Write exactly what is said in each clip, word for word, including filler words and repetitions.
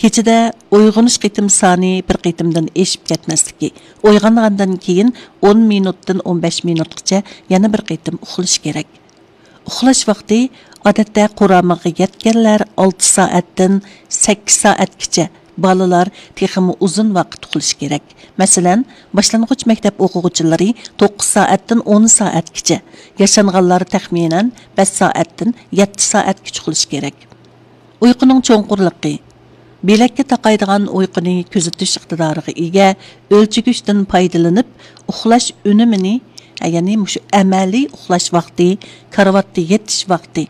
كېچىدە ئويغىنىش قېتىم سانى بىر قېتىمدىن ئېشىپ كەتمەسلىكى، ئويغانغاندىن كېيىن ئون مىنۇتتىن ئون بەش مىنۇتقىچە يەنە بىر قېتىم ئۇخلىشى كېرەك. ئۇخلاش ۋاقتى، ئادەتتە، قۇرامىغا يەتكەنلەر ئالتە سائەتتىن سەككىز سائەتكىچە، بالىلار تېخىمۇ ئۇزۇن ۋاقىت ئۇخلىشى كېرەك. مەسىلەن، باشلانغۇچ مەكتەپ ئوقۇغۇچىلىرى توققۇز سائەتتىن ئون سائەتكىچە، ياشانغانلار تەخمىنەن بەش سائەتتىن يەتتە سائەتكىچە ئۇخلىشى كېرەك. ئۇيقۇنىڭ چوڭقۇرلۇقى. بېلەككە تاقايدىغان ئۇيقۇنى كۆزىتىش ئىقتىدارىغا ئىگە ئۆلچىگۈچتىن پايدىلىنىپ، ئۇخلاش ئۈنۈمىنى، يەنى مۇشۇ ئەمەلىي ئۇخلاش ۋاقتى، كارىۋاتتا يېتىش ۋاقتى،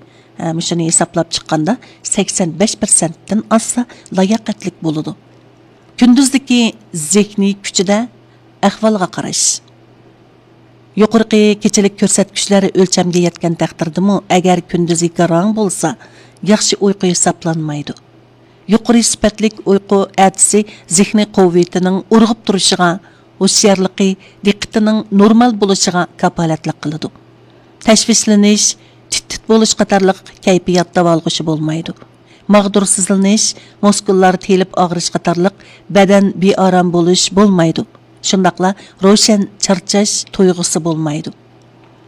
مۇشۇنى ھېسابلاپ چىققاندا، سەكسەن بەش پىرسەنتتىن ئاشسا لاياقەتلىك بولىدۇ. كۈندۈزدىكى زېھنىي كۈچىدە ئەھۋالغا قاراش. يۇقىرىقى كېچىلىك كۆرسەتكۈچلەر ئۆلچەمگە يەتكەن تەقدىردىمۇ، ئەگەر كۈندۈزى گاراڭ بولسا، ياخشى ئۇيقۇ ھېسابلانمايدۇ. يۇقىرى سۈپەتلىك ئۇيقۇ ئەتىسى زېھنىي قۇۋۋىتىنىڭ ئۇرغۇپ تۇرۇشىغا، ھوشيارلىقى، دىققىتىنىڭ نورمال بولۇشىغا كاپالەتلىك قىلىدۇ. تەشۋىشلىنىش، تىت-تىت بولۇش قاتارلىق كەيپىيات داۋالغۇشى بولمايدۇ. ماغدۇرسىزلىنىش، مۇسكۇللار تېلىپ ئاغرىش قاتارلىق بەدەن بىئارام بولۇش بولمايدۇ. شۇنداقلا روشەن چارچاش تۇيغۇسى بولمايدۇ.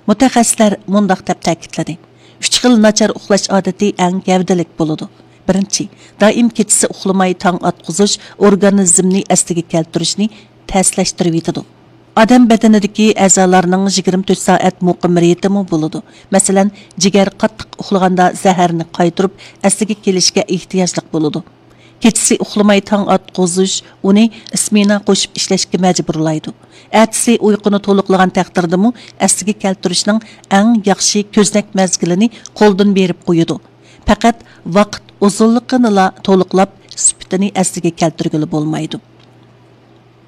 مۇتەخەسسىسلەر مۇنداق دەپ تەكىتلىدى: ئۈچ خىل ناچار ئۇخلاش ئادىتى ئەڭ گەۋدىلىك بولىدۇ. بىرىنچى، دائىم كېچىسى ئۇخلىماي تاڭ ئاتقۇزۇش ئورگانىزمنى ئەسلىگە كەلتۈرۈشنى تەسلەشتۈرۈۋېتىدۇ. ئادەم بەدىنىدىكى ئەزالارنىڭ يىگىرمە تۆت سائەت مۇقىم رىتىمى بولىدۇ. مەسىلەن، جىگەر قاتتىق ئۇخلىغاندا زەھەرنى قايتۇرۇپ ئەسلىگە كېلىشكە ئېھتىياجلىق بولىدۇ. كېچىسى ئۇخلىماي تاڭ ئاتقۇزۇش ئۇنى سمېنا قوشۇپ ئىشلەشكە مەجبۇرلايدۇ. ئەتىسى ئۇيقۇنى تولۇقلىغان تەقدىردىمۇ ئەسلىگە كەلتۈرۈشنىڭ ئەڭ ياخشى كۆزنەك مەزگىلىنى قولدىن بېرىپ قويىدۇ. پەقەت ۋاقىت ئۇزۇنلۇقىنىلا تولۇقلاپ، سۈپىتىنى ئەسلىگە كەلتۈرگىلى بولمايدۇ.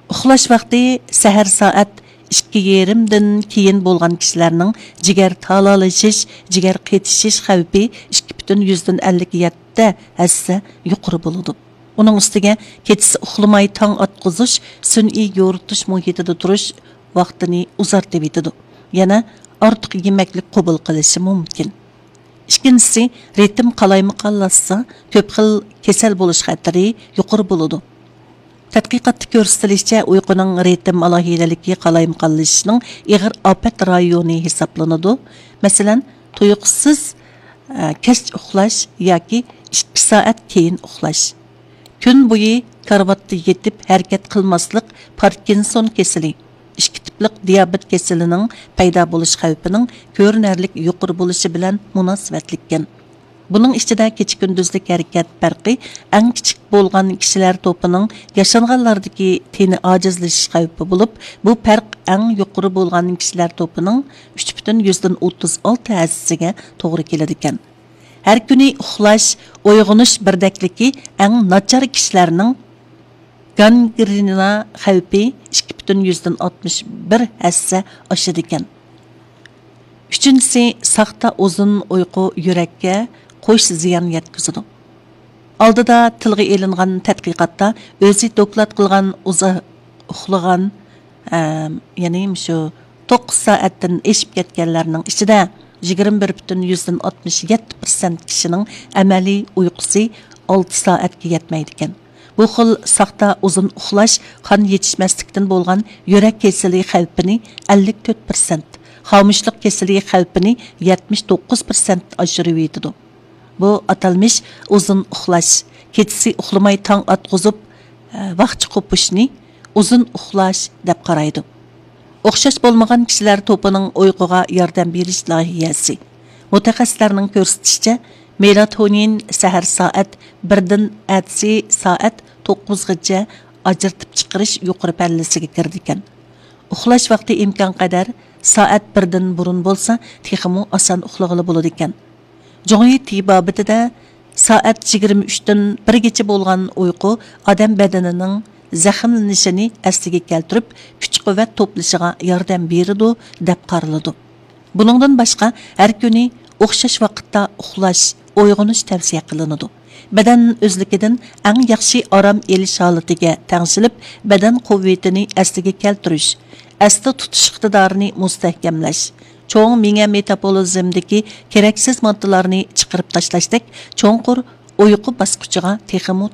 ئۇخلاش ۋاقتى سەھەر سائەت ئىككى يېرىمدىن كېيىن بولغان كىشىلەرنىڭ جىگەر تالالىشىش، جىگەر قېتىشىش خەۋپى ئىككى پۈتۈن يۈزدىن ئەللىك يەتتە ھەسسە يۇقىرى بولىدۇ. ئۇنىڭ ئۈستىگە كېچىسى ئۇخلىماي تاڭ ئاتقۇزۇش سۈنئىي يورۇتۇش مۇھىتىدا تۇرۇش ۋاقتىنى ئۇزارتىۋېتىدۇ. يەنە ئارتۇق يېمەكلىك قوبۇل قىلىشى مۇمكىن. ئىككىنچىسى، رىتىم قالايمىقانلاشسا، كۆپ خىل كېسەل بولۇش خەتىرى يۇقىرى بولىدۇ. تەتقىقاتتا كۆرسىتىلىشىچە، ئۇيقۇنىڭ رىتىم ئالاھىدىلىكى قالايمىقانلىشىشنىڭ ئېغىر ئاپەت رايونى ھېسابلىنىدۇ. مەسىلەن، تۇيۇقسىز، ئە، كەچ ئۇخلاش ياكى ئىككى سائەت كېيىن ئۇخلاش. كۈن بويى كارىۋاتتا يېتىپ ھەرىكەت قىلماسلىق پاركىنسون كېسىلى، ئىككى تىپلىق دىيابېت كېسىلىنىڭ پەيدا بولۇش خەۋپىنىڭ كۆرۈنەرلىك يۇقىرى بولۇشى بىلەن مۇناسىۋەتلىككەن. بۇنىڭ ئىچىدە كېچە-كۈندۈزلۈك ھەرىكەت پەرقى ئەڭ كىچىك بولغان كىشىلەر توپىنىڭ ياشانغانلاردىكى تېنى ئاجىزلىشىش خەۋپى بولۇپ، بۇ پەرق ئەڭ يۇقىرى بولغان كىشىلەر توپىنىڭ ئۈچ پۈتۈن يۈزدىن ئوتتۇز ئالتە ھەسسىگە توغرا كېلىدىكەن. ھەر كۈنى ئۇخلاش، ئويغىنىش بىردەكلىكى ئەڭ ناچار كىشىلەرنىڭ گانگرېنا خەۋپى ئىككى پۈتۈن يۈزدىن ئاتمىش بىر ھەسسە ئاشىدىكەن. ئۈچىنچىسى، ساختا ئۇزۇن ئۇيقۇ يۈرەككە قوش زىيان يەتكۈزىدۇ. ئالدىدا تىلغا ئېلىنغان تەتقىقاتتا ئۆزى دوكلات قىلغان ئۇزاق ئۇخلىغان، ئەم، يەنى مۇشۇ توققۇز سائەتتىن ئېشىپ كەتكەنلەرنىڭ ئىچىدە يىگىرمە بىر پۈتۈن يۈزدىن ئاتمىش يەتتە پىرسەنت كىشىنىڭ ئەمەلىي ئۇيقۇسى ئالتە سائەتكە يەتمەيدىكەن. بۇ خىل ساختا ئۇزۇن ئۇخلاش قان يېتىشمەسلىكتىن بولغان يۈرەك كېسىلى خەۋپىنى ئەللىك تۆت پىرسەنت، خامۇشلۇق كېسىلى خەۋپىنى يەتمىش توققۇز پىرسەنت ئاشۇرۇۋېتىدۇ. بۇ ئاتالمىش ئۇزۇن ئۇخلاش، كېچىسى ئۇخلىماي تاڭ ئاتقۇزۇپ، ۋاقچە قوپۇشنى ئۇزۇن ئۇخلاش دەپ قارايدۇ. ئوخشاش بولمىغان كىشىلەر توپىنىڭ ئۇيقۇغا ياردەم بېرىش لايىھەسى. مۇتەخەسسىسلەرنىڭ كۆرسىتىشىچە، مېلاتونىن سەھەر سائەت بىردىن ئەتىسى سائەت توققۇزغىچە ئاجرىتىپ چىقىرىش يۇقىرى پەللىسىگە كىرىدىكەن. ئۇخلاش ۋاقتى ئىمكانقەدەر سائەت بىردىن بۇرۇن بولسا، تېخىمۇ ئاسان ئۇخلىغىلى بولىدىكەن. جۇڭيى تېبابىتىدە سائەت يىگىرمە ئۈچتىن بىرگىچە بولغان ئۇيقۇ ئادەم بەدىنىنىڭ زەخىملىنىشىنى ئەسلىگە كەلتۈرۈپ، كۈچ-قۇۋۋەت توپلىشىغا ياردەم بېرىدۇ، دەپ قارىلىدۇ. بۇنىڭدىن باشقا، ھەر كۈنى ئوخشاش ۋاقىتتا ئۇخلاش، ئويغىنىش تەۋسىيە قىلىنىدۇ. بەدەن ئۆزلۈكىدىن ئەڭ ياخشى ئارام ئېلىش ھالىتىگە تەڭشىلىپ، بەدەن قۇۋۋىتىنى ئەسلىگە كەلتۈرۈش، ئەستە تۇتۇش ئىقتىدارىنى مۇستەھكەملەش، چوڭ مېڭە مېتابولىزمدىكى كېرەكسىز ماددىلارنى چىقىرىپ تاشلاشتەك چوڭقۇر ئۇيقۇ باسقۇچىغا تېخىمۇ